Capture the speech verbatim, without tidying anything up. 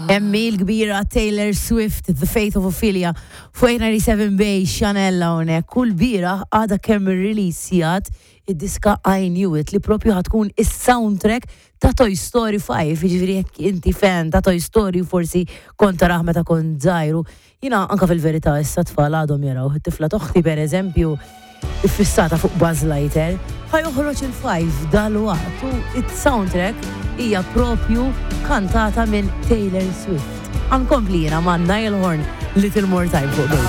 Emmi l-kbira Taylor Swift, The Fate of Ophelia, fuq eight ninety-seven Bay, Chanel hawnhekk. Kull bira għada kemm ir-releasjat id-diska I Knew It li propju ħa tkun is-soundtrack ta' Toy Story five, jiġifieri jekk inti fan ta' Toy Story, forsi kont tarah meta kont żgħir. Jiena anka fil-verità issa tfal għadhom jaraw, it-tifla t'oħti, per eżempju, iffissata fuq Buzz Lightyear. Ħa joħroġ il-five dal-waqt u it-soundtrack hija propju kantata minn Taylor Swift. Ħa nkompli jiena ma' Niall Horn, Little More Time, fuq Bay.